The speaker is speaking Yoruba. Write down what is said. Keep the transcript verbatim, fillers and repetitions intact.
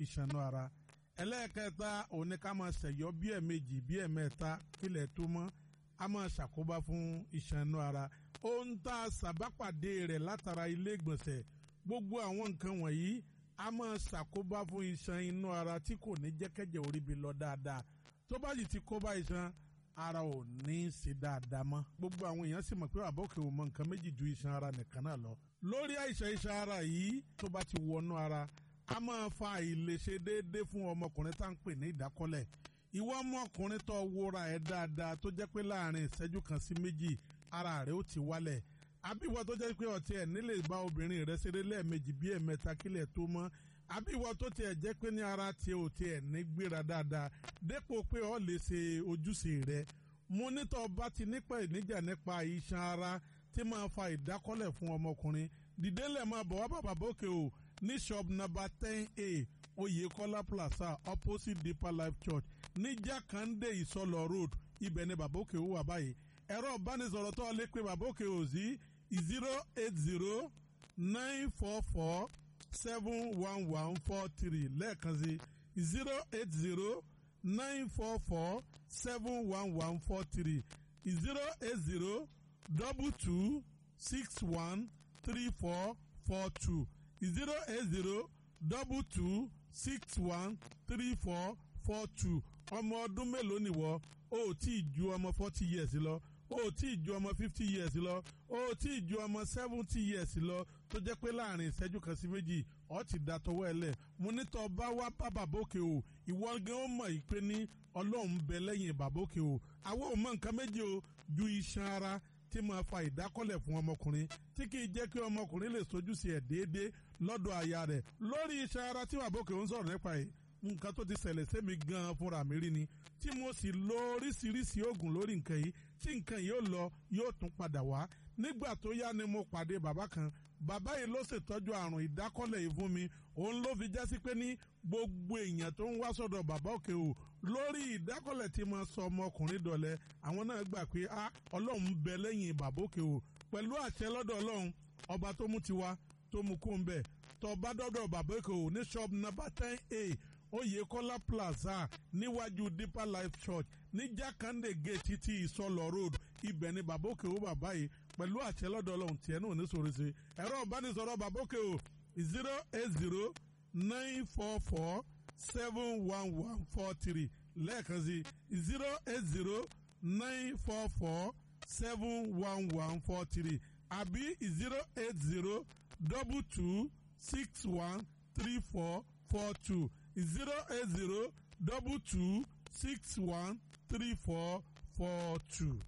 ìṣànú ara. Ẹlẹ́ẹ̀kẹta òun ni ká máa ṣẹ̀yọ́ bí ẹ̀ẹ̀mejì bí ẹ̀ẹ̀mẹ́ta kílẹ̀ tó mọ́, a máa ṣàkóbá fún ìṣànú ara. Ohun tá a ṣàbápàdé rẹ̀ látara ilé ìgbọ̀nsẹ̀, gbogbo àwọn nǹkan wọ̀nyí a máa ṣàkóbá fún iṣan inú ara tí kò ní jẹ́kẹ́jẹ́ orí bi lọ dáadáa. Tó bá sì ti kóbá iṣan ara, ò ní í ṣe dáadáa mọ́. Gbogbo àwọn èèyàn sì mọ̀ pé àbọ̀kẹ́ ò mọ nǹkan méjì ju iṣan ara nìkan náà lọ. Lórí àìsàn iṣan ara yìí, tó bá ti wọnú ara, a máa fa àìlèṣe déédéé fún ọmọkùnrin tá à ń pè ní ìdákọ́lẹ̀. Ìwọ ọmọkùnrin tó wúra ẹ̀ dáadáa, tó jẹ́ pé láàrin ìṣẹ́jú kan sí méjì ara rẹ̀ ó ti wálẹ̀, àbí ìwọ tó jẹ́ pé ọtí ẹ̀ nílè bá obìnrin rẹ̀ ṣeré lẹ́ẹ̀mejì bí ẹ̀mẹ́ta kílẹ̀ tó mọ́, àbí ìwọ tó tiẹ̀ jẹ́ pé ní ara tiẹ̀ ò tiẹ̀ ní gbéra dáadáa dépò pé ọ lè ṣe ojúṣe rẹ̀, mo nítọ́ bá ti nípa ìníjà nípa iṣan ara tí máa fa ìdákọ́lẹ̀ fún ọmọkùnrin, dìde lẹ̀ máa bọ̀ wá bàbá bókè o ní shop number ten A, Oyekola Plaza, opposite Deeper Life Church, ní Jákàndé, Ìsọlọ Road. Ibẹ̀ ni bàbá òkè ó wà báyìí. Ẹ̀rọ ìbánisọ̀rọ̀ tó lè pe bàbá òkè ò sí zero eight zero nine four four seven one one four three. Lẹ́ẹ̀kan sí, zero eight zero nine four four seven one one four three, zero eight zero double two six one three four four two, zero eight zero double two six one three four four two. Ọmọ ọdún mélòó nìwọ? O ò tí ì ju ọmọ forty years lọ, o ò tí ì ju ọmọ fifty years lọ, o ò tí ì ju ọmọ seventy years lọ, tó jẹ́ pé láàrin ìṣẹ́jú kan sí méjì ọ ti da tọwọ́ ẹ lẹ̀, mo ní tọ́ bá wá bá bàbókè o, ìwọ gan ó mọ̀ yìí pé ní Ọlọ́run bẹ lẹ́yìn bàbókè o. Àwọn ò mọ nǹkan méjì o ju iṣan ara tí máa fa ìdákọ́lẹ̀ fún ọmọkùnrin, tí kì í jẹ́ kí ọmọkùnrin lè sojúṣe ẹ̀ déédéé lọ́dọ̀ aya rẹ̀. Lórí iṣan ara tí bàbókè ń sọ̀rọ̀ nípa yìí, nǹkan tó ti ṣẹlẹ̀ sẹ́mi gan-an fúnra mi rí ni, tí mo sì lo oríṣiríṣi oògùn lórí nǹkan yìí, tí nǹkan yìí ó lọ, yóò tún padà wá. Nígbà tó yá ni mo pàdé bàbá kan. Bàbá yìí ló ṣètọ́jú àrùn ìdákọ́lẹ̀ yìí fún mi. Òun ló fi jásí pé ní gbogbo èèyàn tó ń wá sọ́dọ̀ bàbá òkè o lórí ìdákọ́lẹ̀ tí mo sọ ọmọkùnrin dọ̀lẹ́, àwọn náà gbà pé a Ọlọ́run ń bẹ lẹ́yìn bàbá òkè o. Pẹ̀lú àṣẹ lọ́dọ̀ Ọlọ́run ọba tó mú tiwa tó mú kó ń bẹ̀, tó bá dọ́dọ̀ bàbá òkè o ní shop number ten A, Oyekola Plaza, níwájú Deeper Life Church, ní Jákàndé Gate títí Ìsọlọ Road, ibẹ̀ ni bàbá òkè o. Bàbá yìí, pẹ̀lú àṣẹ lọ́dọ̀ Ọlọ́run, tiẹ̀ náà ní sòrò sí. Ẹ̀rọ ìbánisọ̀rọ̀ bàbá òkè o, zero eight zero nine four four seven one one four three. Lẹ́ẹ̀kan sí, zero eight zero nine four four seven one one four three, àbí zero eight zero double two six one three four four two, zero eight zero double two six one three four four two.